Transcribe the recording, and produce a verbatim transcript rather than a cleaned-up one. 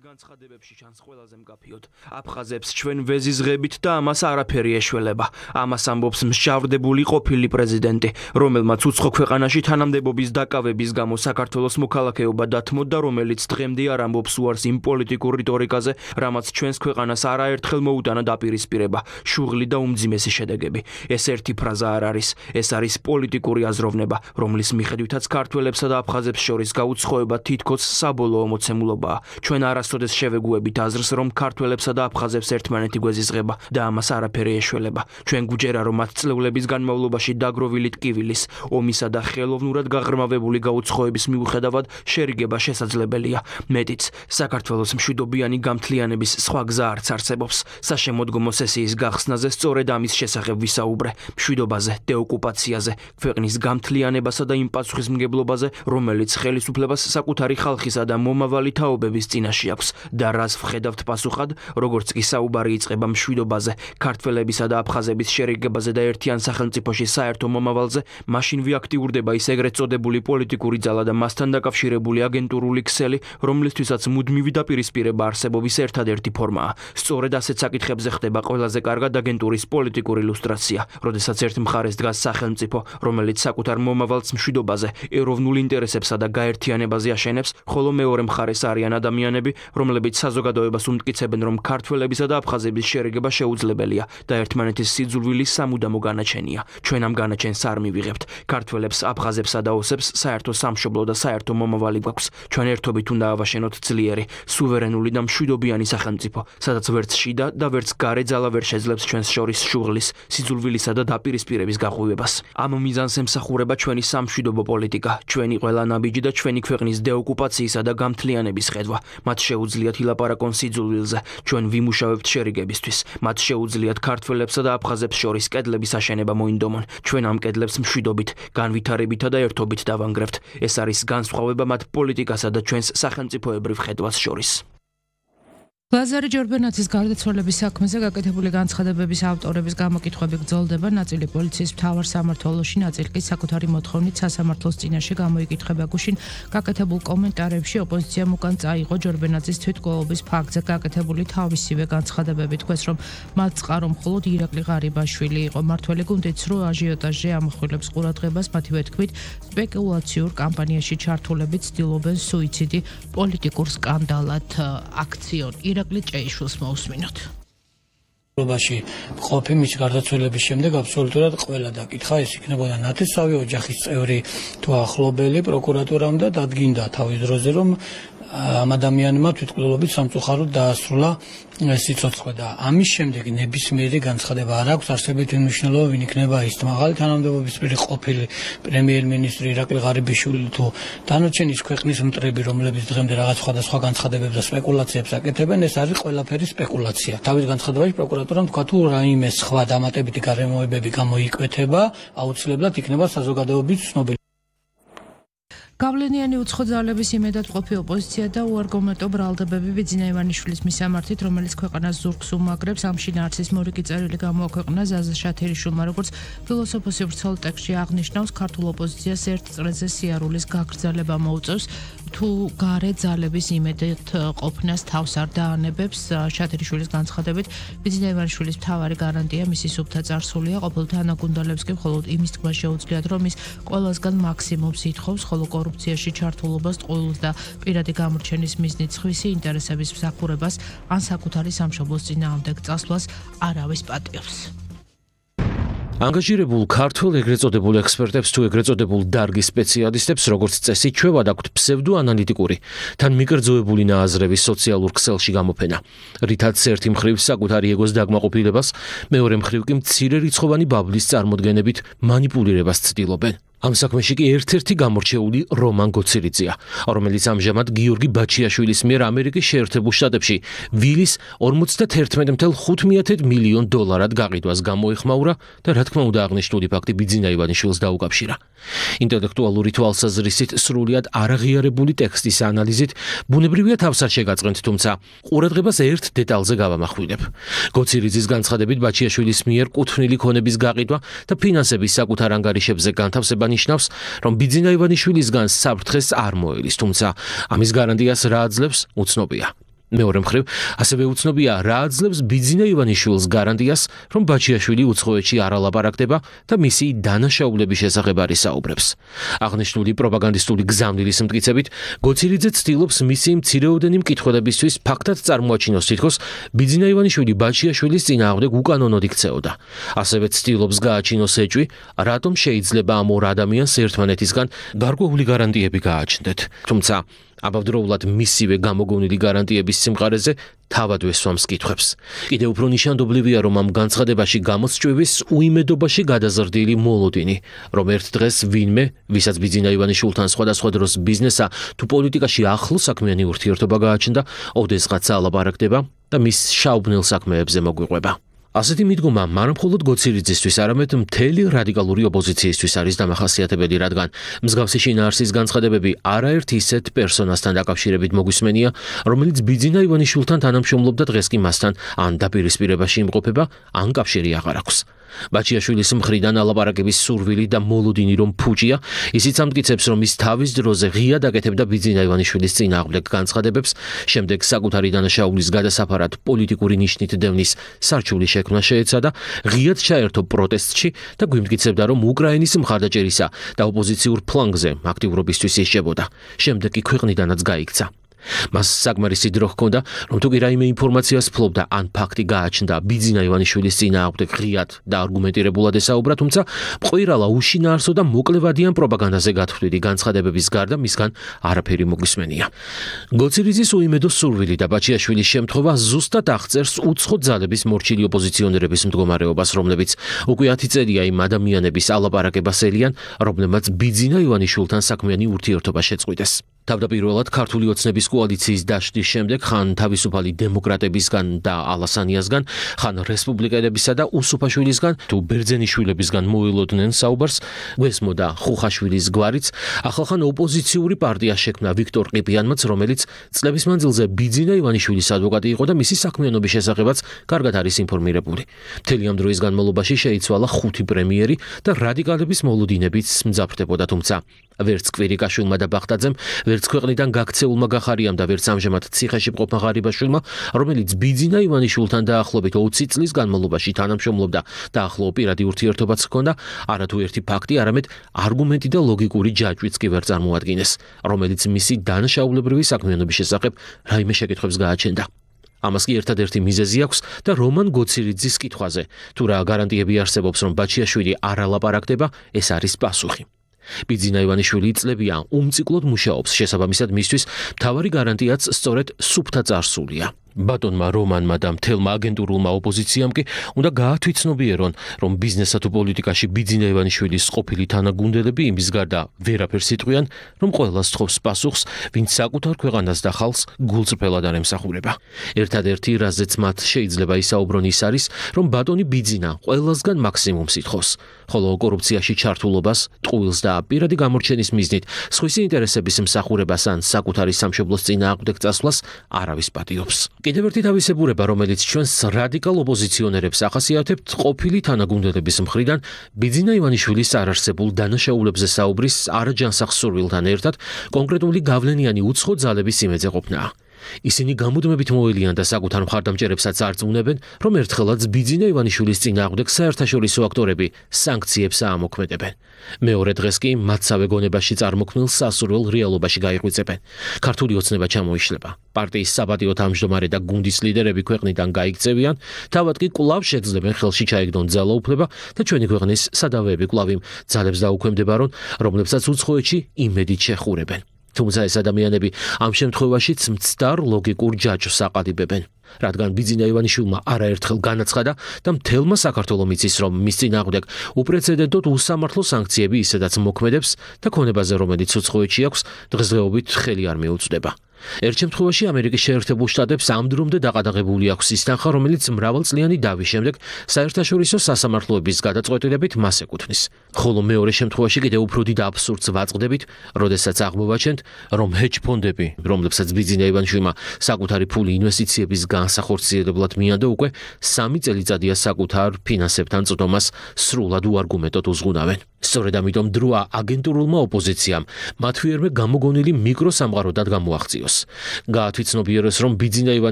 განცხადებებში ჩანს ყველაზე მკაფიოდ. აფხაზებს ჩვენ ვეზიზღებით და ამას არაფერი ეშველება. ამას ამბობს მსჯავრდებული ყოფილი პრეზიდენტი, რომელმაც უცხო ქვეყანაში თანამდებობის დაკავების გამო საქართველოს მოქალაქეობა დათმოდა, რომელიც დღემდე არ ამბობს უარს იმ პოლიტიკურ რიტორიკაზე, რამაც ჩვენს ქვეყანას არაერთხელ მოუტანა დაპირისპირება, შუღლი და უმძიმესი შედეგები. ეს ერთი ფრაზა არ არის, ეს არის პოლიტიკური აზროვნება, რომლის მიხედვითაც ქართველებსა და აფხაზებს შორის გაუცხოება თითქოს საბოლოო მოცემულობაა. ჩვენ არასოდეს შევეგუებით აზრს, რომ ქართველებსა და აფხაზებს ერთმანეთი გვეზიზღება და ამას არაფერი ეშველება. ჩვენ გვჯერა, რომ ათ წლეულების განმავლობაში დაგროვილი ტკივილის, ომისა და ხელოვნურად გაღრმავებული გაუცხოების მიუხედავად შერიგება შესაძლებელია. მეტიც, საქართველოს მშვიდობიანი გამთლიანების სხვა გზა არც არსებობს. საშემოდგომო სესიის გახსნაზე სწორედ ამის შესახებ ვისაუბრე, მშვიდობაზე, დეოკუპაციაზე, ქვეყნის გამთლიანებასა და იმ პასუხისმგებლობაზე, რომელიც ხელისუფლებას საკუთარი ხალხისა და მომავალი თაობების წინაშე აქვს და რას ვხედავთ პასუხად, როგორც კი საუბარი იწყება მშვიდობაზე, ქართველებისა და აფხაზების შერიგებაზე და ერთიან სახელმწიფოში საერთო მომავალზე, მაშინ ვიაქტიურდება ის ეგრეთ წოდებული პოლიტიკური ძალა და მასთან დაკავშირებული აგენტურული ქსელი, რომლისთვისაც მუდმივი დაპირისპირება არსებობის ერთადერთი ფორმაა. სწორედ ასეთ საკითხებზე ხდება ყველაზე კარგად აგენტურის პოლიტიკური ილუსტრაცია, როდესაც ერთ მხარეს დგას სახელმწიფო, რომელიც საკუთარ მომავალს მშვიდობაზე, ეროვნულ ინტერესებსა და გაერთიანებაზე აშენებს, ხოლო მეორე მხარეს არიან ადამიანები, რომლებიც საზოგადოებას უმტკიცებენ, რომ ქართველებისა და აფხაზების შერიგება შეუძლებელია და ერთმანეთის სიძულვილის სამუდამო განაჩენია. ჩვენ ამ განაჩენს არ მივიღებთ. ქართველებს, აფხაზებსა და ოსებს საერთო სამშობლო და საერთო მომავალი გვაქვს. ჩვენ ერთობით უნდა ავაშენოთ ძლიერი, სუვერენული და მშვიდობიანი სახელმწიფო, სადაც ვერც შიდა და ვერც გარე ძალა ვერ შეძლებს ჩვენს შორის შუღლის, სიძულვილისა და დაპირისპირების გაღვივებას. ამ მიზანს ემსახურება ჩვენი სამშვიდობო პოლიტიკა, ჩვენი ყველა ნაბიჯი და ჩვენი ქვეყნის დეოკუპაციისა და გამთლიანების ხედვა. მათ შეუძლიათ ილაპარაკონ სიძულვილზე, ჩვენ ვიმუშავებთ შერიგებისთვის. მათ შეუძლიათ ქართველებსა და აფხაზებს შორის კედლების აშენება მოინდომონ. ჩვენ ამ კედლებს მშვიდობით, განვითარებითა და ერთობით დავანგრევთ. ეს არის განსხვავება მათ პოლიტიკასა და ჩვენს სახელმწიფოებრივ ხედვას შორის. ლაზარე ჯორბენაძის გარდაცვალების საქმეზე გაკეთებული განცხადებების ავტორების გამოკითხვები გრძელდება, ნაწილი პოლიციის მთავარ სამმართველოში, ნაწილი კი საკუთარი მოთხოვნით სასამართლოს წინაშე გამოიკითხება. გუშინ გაკეთებულ კომენტარებში ოპოზიციამ უკან წაიღო ჯორბენაძის თვითმკვლელობის ფაქტზე გაკეთებული თავისივე განცხადებები, თქვეს, რომ მათ წყარო მხოლოდ ირაკლი ღარიბაშვილი იყო. მართველი გუნდიც რო აჟიოტაჟზე ამახვილებს ყურადღებას, მათივე თქმით, სპეკულაციურ კამპანიაში ჩართულები ცდილობენ სუიციდი პოლიტიკურ სკანდალად აქციონ. ირაკლი ჭეიშვილს მოусმინოთ. ობაში ყოფი მის გარდაცვალების შემდეგ აბსოლუტურად ყველა დაკითხა, ეს იქნებოდა ნათესავი ოჯახის წევრი თუ ახლობელი პროკურატურამ და დადგინდა თავის დროზე, რომ ამ ადამიანმა თვითმკვლელობით სამწუხაროდ დაასრულა სიცოცხლე და ამის შემდეგ ნებისმიერი განცხადება არ აქვს არსებითი მნიშვნელობა, ვინ იქნება ის მაღალი თანამდებობის პირი ყოფილი პრემიერ-მინისტრი ირაკლი ღარიბაშვილი თუ დანარჩენი ქვეყნის მტრები, რომლებიც დღემდე რაღაც სხვადასხვა განცხადებებს და სპეკულაციებს აკეთებენ, ეს არის ყველაფერი სპეკულაცია. თავის განცხადებაში პროკურატურამ თქვა, თუ რაიმე სხვა დამატებითი გარემოებები გამოიკვეთება, აუცილებლად იქნება საზოგადოების ცნობილი. გავლენიანი უცხო ძალების იმედად ყოფი ოპოზიცია და უარგუმენტო ბრალდებები ბიძინა ივანიშვილის მისამართით, რომელიც ქვეყანას ზურგს უმაგრებს, ამ შინაარსის მორიგი წერილი გამოაქვეყნა ზაზა შათერიშვილმა, როგორც ფილოსოფოსი ვრცელ ტექსტში აღნიშნავს, ქართულ ოპოზიციას ერთ წრეზე სიარულის გაგრძელება მოუწევს, თუ გარე ძალების იმედად ყოფნას თავს არ დაანებებს. შათერიშვილის განცხადებით, ბიძინა ივანიშვილის მთავარი გარანტია მისი სუფთა წარსულია, ყოფილ თანაგუნდელებს კი მხოლოდ იმის თქმა შეუძლიათ, რომ ის ყველასგან მაქსიმუმს ითხოვს, ხოლო კორუფციაში ჩართულობას, ტყუილს და პირადი გამორჩენის მიზნით სხვისი ინტერესების მსახურებას ან საკუთარი სამშობლოს წინააღმდეგ წასვლას არავის პატიობს. ანგაჟირებულ ქართველ ეგრეთ წოდებულ ექსპერტებს თუ ეგრეთ წოდებულ დარგის სპეციალისტებს, როგორც წესი, ჩვევად აქვთ ფსევდოანალიტიკური, თან მიკერძოებული ნააზრების სოციალურ ქსელში გამოფენა, რითაც ერთი მხრივ საკუთარი ეგოს დაკმაყოფილებას, მეორე მხრივ კი მცირე რიცხოვანი ბაბლის წარმოდგენებით მანიპულირებას ცდილობენ. ამ საქმეში კი ერთ-ერთი გამორჩეული რომან გოცირიძეა, რომელიც ამჟამად გიორგი ბაჩიაშვილის მიერ ამერიკის შეერთებულ შტატებში ვილის ორმოცდაერთმეტ კoma ხუთ მილიონ დოლარად გაყიდვას გამოეხმაურა და რა თქმა უნდა აღნიშნული ფაქტი ბიძინა ივანიშვილს დაუკავშირა. ინტელექტუალური თვალსაზრისით სრულიად არაღიარებული ტექსტის ანალიზით ბუნებრივია თავს არ შეგაწყენთ, თუმცა ყურადღებას ერთ დეტალზე გავამახვილებ. გოცირიძის განცხადებით ბაჩიაშვილის მიერ კუთვნილი ქონების გაყიდვა და ფინანსების საკუთარ ანგარიშებზე განთავსება ნიშნავს, რომ ბიძინა ივანიშვილისგან საფრთხეს არ მოელის, თუმცა ამის გარანტიას რა აძლევს, უცნობია. მეორე მხრივ, ასევე უცნობია, რა აძლევს ბიძინა ივანიშვილს გარანტიას, რომ ბაჩიაშვილი უცხოეთში არ ალაპარაკდება და მისი დანაშაულების შესახებ არ ისაუბრებს. აღნიშნული პროპაგანდისტული გზავნილის მტკიცებით, გოცირიძე ცდილობს მისი მცირეოდენი მკითხველებისთვის ფაქტად წარმოაჩინოს თითქოს ბიძინა ივანიშვილი ბაჩიაშვილის წინააღმდეგ უკანონოდ იქცეოდა. ასევე ცდილობს გააჩინოს ეჭვი, რატომ შეიძლება ამ ორ ადამიანს ერთმანეთისგან გარკვეული გარანტიები გააჩნდეთ. თუმცა აბავდროულად მისივე გამოგონილი გარანტიების სიმყარეზე თავად ვესვამს კითხვებს. კიდევ უფრო ნიშანდობლივია, რომ ამ განცხადებაში გამოსჭვივის უიმედობაში გადაზრდილი მოლოდინი, რომ ერთ დღეს ვინმე, ვისაც ბიძინა ივანიშვილთან სხვადასხვა დროს ბიზნესა თუ პოლიტიკაში ახლო საქმიანი ურთიერთობა გააჩნდა, ოდესღაც ალაპარაკდება და მის შაუბნელ საქმეებზე მოგვიყვება. ასეთი მიდგომა მარა მხოლოდ გოცირიძისთვის, არამედ მთელი რადიკალური ოპოზიციისთვის არის დამახასიათებელი, რადგან მსგავსი შინაარსის განცხადებები არაერთ ისეთ პერსონასთან დაკავშირებით მოგვისმენია, რომელიც ბიძინა ივანიშვილთან თანამშრომლობდა, დღეს კი მასთან ან დაპირისპირებაში იმყოფება, ან კავშირი აღარ აქვს. ბაჩიაშვილის მხრიდან ალაპარაკების სურვილი და მოლოდინი რომ ფუჭია, ისიც ამტკიცებს, რომ ის თავის დროზე ღიად აკეთებდა ბიძინა ივანიშვილის წინააღმდეგ განცხადებებს, შემდეგ საკუთარი დანაშაულის გადასაფარად პოლიტიკური ნიშნით დევნის სარჩული შექმნა შეეცადა, ღიად ჩაერთო პროტესტში და გვიმტკიცებდა, რომ უკრაინის მხარდაჭერისა და ოპოზიციურ ფლანგზე აქტიურობისთვის ისჯებოდა. შემდეგ კი ქვეყნიდანაც გაიქცა. მას საკმარისი დრო ჰქონდა, რომ თუ კი რაიმე ინფორმაციას ფლობდა ან ფაქტი გააჩნდა ბიძინა ივანიშვილის წინააღმდეგ ღიად და არგუმენტირებულად ესაუბრა, თუმცა მყვირალა უშინაარსო და მოკლევადიან პროპაგანდაზე გათვლილი განცხადებების გარდა მისგან არაფერი მოგვისმენია. გოცირიძის უიმედო სურვილი და ბაჩიაშვილის შემთხვევა ზუსტად აღწერს უცხო ძალების მორჩილი ოპოზიციონერების მდგომარეობას, რომლებიც უკვე ათი წელია იმ ადამიანების ალაპარაკებას ელიან, რომლებმაც ბიძინა ივანიშვილთან საქმიანი ურთიერთობა შეწყვიტეს. თავდაპირველად ქართული ოცნების კოალიციის დაშლის შემდეგ ხან თავისუფალი დემოკრატებისგან და ალასანიასგან, ხან რესპუბლიკელებისა და უსუფაშვილისგან თუ ბერძენიშვილებისგან მოელოდნენ საუბარს, გვესმოდა ხუხაშვილის გვარიც, ახლა ხან ოპოზიციური პარტია შექმნა ვიქტორ ყიფიანმაც, რომელიც წლების მანძილზე ბიძინა ივანიშვილის ადვოკატი იყო და მისი საქმიანობის შესახებაც კარგად არის ინფორმირებული. მთელი ამ დროის განმავლობაში შეიცვალა ხუთი პრემიერი და რადიკალების მოლოდინებიც მძაფრდებოდა, თუმცა ვერც კვირიკაშვილმა და ბახტაძემ, ვერც ქვეყნიდან გაქცეულმა გახარიამ და ვერც ამჟამად ციხეში მყოფმა ღარიბაშვილმა, რომელიც ბიძინა ივანიშვილთან დაახლოებით ოცი წლის განმავლობაში თანამშრომლობდა და ახლო პირადი ურთიერთობაც ჰქონდა, არათუ ერთი ფაქტი, არამედ არგუმენტი და ლოგიკური ჯაჭვიც კი ვერ წარმოადგენეს, რომელიც მისი დანაშაულებრივი საქმიანობის შესახებ რაიმე შეკითხვებს გააჩენდა. ამას კი ერთადერთი მიზეზი აქვს და რომან გოცირიძის კითხვაზე, თუ რა გარანტიები არსებობს, რომ ბაჩიაშვილი არ ალაპარაკდება, ეს არის პასუხი. ბიძინა ივანიშვილი წლებია უმციკლოდ მუშაობს, შესაბამისად მისთვის მთავარი გარანტიაც სწორედ სუფთა წარსულია. ბატონმა რომანმა და მთელმა აგენტურულმა ოპოზიციამ კი უნდა გაათვითცნობიერონ, რომ ბიზნესსა თუ პოლიტიკაში ბიძინა ივანიშვილის ყოფილი თანაგუნდელები იმის გარდა ვერაფერს იტყვიან, რომ ყველას თხოვს პასუხს, ვინც საკუთარ ქვეყანას და ხალხს გულწრფელად არ ემსახურება. ერთადერთი, რაზეც მათ შეიძლება ისაუბრონ, ის არის, რომ ბატონი ბიძინა ყველასგან მაქსიმუმს ითხოვს, ხოლო კორუფციაში ჩართულობას, ტყუილს და პირადი გამორჩენის მიზნით სხვისი ინტერესების მსახურებას ან საკუთარი სამშობლოს წინააღმდეგ წასვლას არავის პატიობს. კიდევ ერთი თავისებურება, რომელიც ჩვენს რადიკალ ოპოზიციონერებს ახასიათებთ, ყოფილი თანაგუნდელების მხრიდან ბიძინა ივანიშვილის არარსებულ დანაშაულებზე საუბრის არაჯანსაღ სურვილთან ერთად კონკრეტული გავლენიანი უცხო ძალების იმედზე ყოფნა. ისინი გამუდმებით მოელიან და საკუთარ მხარდამჭერებსაც არწმუნებენ, რომ ერთხელაც ბიძინა ივანიშვილის წინააღმდეგ საერთაშორისო აქტორები სანქციებს აამოქმედებენ. მეორე დღეს კი მათსავე გონებაში წარმოქმნილ სასურველ რეალობაში გაიღვიძებენ. ქართული ოცნება ჩამოიშლება. პარტიის საპატიო თავმჯდომარე და გუნდის ლიდერები ქვეყნიდან გაიქცევიან, თავად კი კვლავ შეძლებენ ხელში ჩაიგდონ ძალაუფლება და ჩვენი ქვეყნის სადავეები კვლავ იმ ძალებს დაუქვემდებარონ, რომლებსაც უცხოეთში იმედით შეხურებენ. თუმცა ეს ადამიანები ამ შემთხვევაშიც მცდარ ლოგიკურ ჯაჭვს აყალიბებენ. რადგან ბიძინა ივანიშვილმა არაერთხელ განაცხადა და მთელმა საქართველომ იცის, რომ მის წინააღმდეგ უპრეცედენტოდ უსამართლო სანქციები ისედაც მოქმედებს და ქონებაზე, რომელიც უცხოეთში აქვს, დღესდღეობით ხელი არ მიუწვდება. ერთ შემთხვევაში ამერიკის შეერთებულ შტატებს ამ დრომდე დაყადაღებული აქვს ის თანხა, რომელიც მრავალწლიანი დავის შემდეგ საერთაშორისო სასამართლოების გადაწყვეტილებით მას ეკუთვნის. ხოლო მეორე შემთხვევაში კიდევ უფრო დიდ აბსურდს ვაწყდებით, როდესაც აღმოვაჩენთ, რომ ჰეჯ ფონდები, რომლებსაც ბიძინა ივანიშვილმა საკუთარი ფული ინვესტიციების განსახორციელებლად მიანდო, უკვე სამი წელიწადია საკუთარ ფინანსებთან წვდომას სრულად უარგუმენტოდ უზღუნავენ. სწორედ ამიტომ დროა აგენტურულმა ოპოზიციამ მათ ვიერმე გამოგონილი მიკროსამყაროდად გამოაღწიოს. გაათვითცნობიერეს, რომ ბიძინა ივანიშვილის